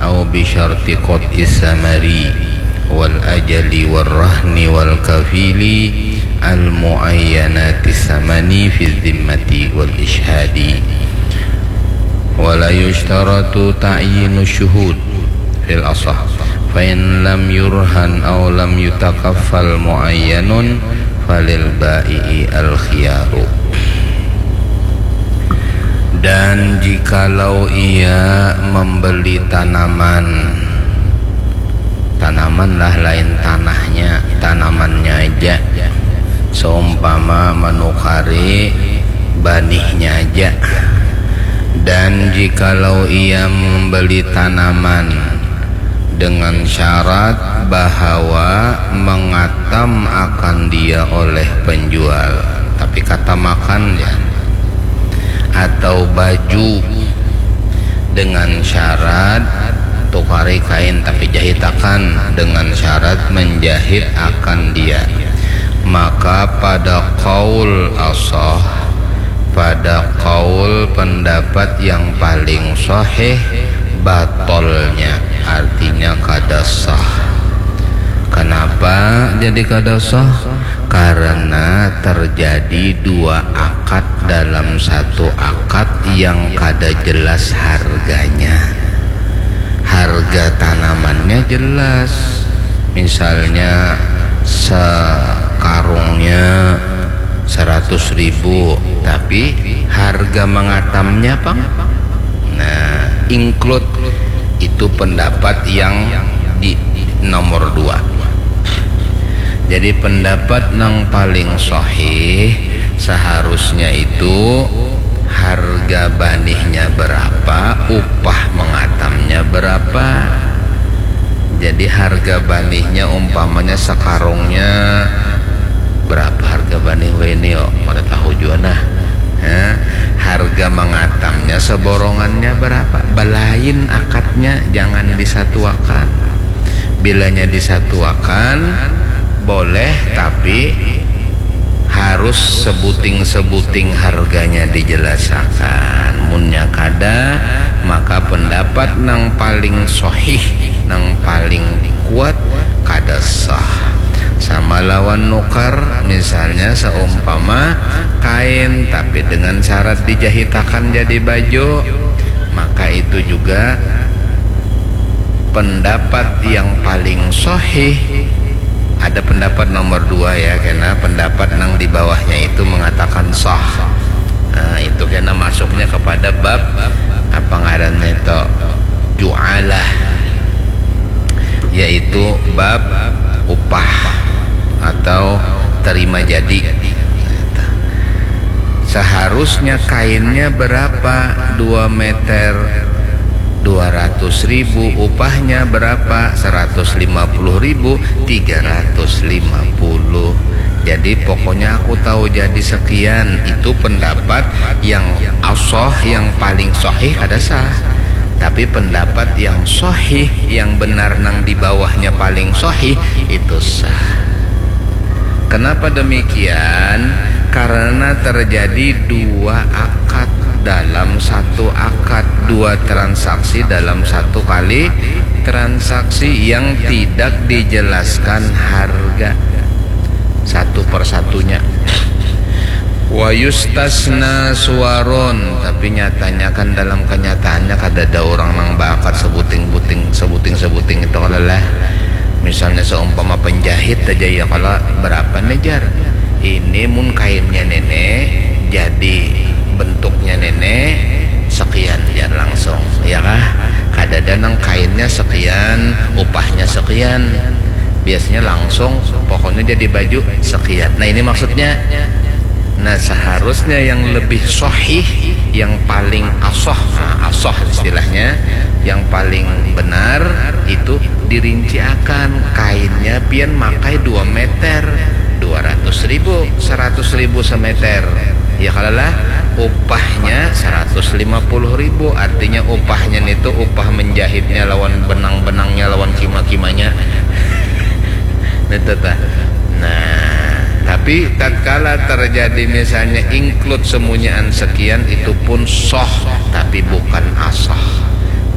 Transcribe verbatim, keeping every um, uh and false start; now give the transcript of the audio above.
أو بشرط قطع الثمر والأجل والرهن والكفيل المعينات الثمن في الذمة والإشهاد. ولا يشترط تعيين الشهود في الأصح، فإن لم يرهن أو لم يتكفل معين فللبائع الخيار. Dan jikalau ia membeli tanaman, tanaman lah, lain tanahnya, tanamannya aja, seumpama menukari banihnya aja. Dan jikalau ia membeli tanaman dengan syarat bahawa mengatam akan dia oleh penjual, tapi katamakan ya, atau baju dengan syarat tukari kain tapi jahitakan dengan syarat menjahit akan dia, maka pada qaul asah, pada qaul pendapat yang paling sahih, batolnya, artinya kada sah. Kenapa jadi kada sah? Karena terjadi dua akad dalam satu akad yang kada jelas harganya. Harga tanamannya jelas, misalnya sekarungnya seratus ribu, tapi harga mengatamnya pang, nah, include, itu pendapat yang di nomor dua. Jadi pendapat nang paling sahih seharusnya itu harga banihnya berapa, upah mengatamnya berapa. Jadi harga banihnya umpamanya sekarungnya berapa harga banih wene yo, kada tahu jua nah. Ya, harga mengatamnya seborongannya berapa, belain akadnya, jangan disatuakan. Bilanya disatuakan boleh, tapi harus sebuting-sebuting harganya dijelasakan. Munnya kada, maka pendapat nang paling sahih, nang paling kuat, kada sah. Sama lawan nukar, misalnya seumpama kain tapi dengan syarat dijahitakan jadi baju, maka itu juga pendapat yang paling sahih. Ada pendapat nomor dua ya, karena pendapat nang di bawahnya itu mengatakan sah. Nah, itu kena masuknya kepada bab apa ngarannya itu, jualah, yaitu bab upah atau terima jadi. Seharusnya kainnya berapa? Dua meter, dua ratus ribu, upahnya berapa? Seratus lima puluh ribu, tiga ratus lima puluh. Jadi pokoknya aku tahu jadi sekian. Itu pendapat yang asah, yang paling sahih, kada sah. Tapi pendapat yang sahih, yang benar, nang di bawahnya paling sahih, itu sah. Kenapa demikian? Karena terjadi dua akad dalam satu akad, dua transaksi dalam satu kali transaksi yang tidak dijelaskan harga satu persatunya. Wa yustasna suwarun, tapi nyatanya kan dalam kenyataannya kada ada orang nang baakad sebuting-buting, sebuting-sebuting itu kalau lah. Misalnya seumpama penjahit aja ya, kalau berapa nih, jar? Ini mun kainnya nenek jadi bentuknya nenek sekian, jar, langsung, ya kah? Kada ada nang kainnya sekian, upahnya sekian. Biasanya langsung, pokoknya jadi baju sekian. Nah, ini maksudnya. Nah, seharusnya yang lebih sahih, yang paling asah, nah, asah istilahnya, yang paling benar itu dirinciakan. Kainnya pian makai dua meter, dua ratus ribu, seratus ribu semeter. Ya kalalah, upahnya seratus lima puluh ribu, artinya upahnya nitu upah menjahitnya lawan benang-benangnya, lawan kima-kimanya. Nitu tah. Nah, tapi tatkala terjadi misalnya include semunyaan sekian, itu pun sah, tapi bukan asah.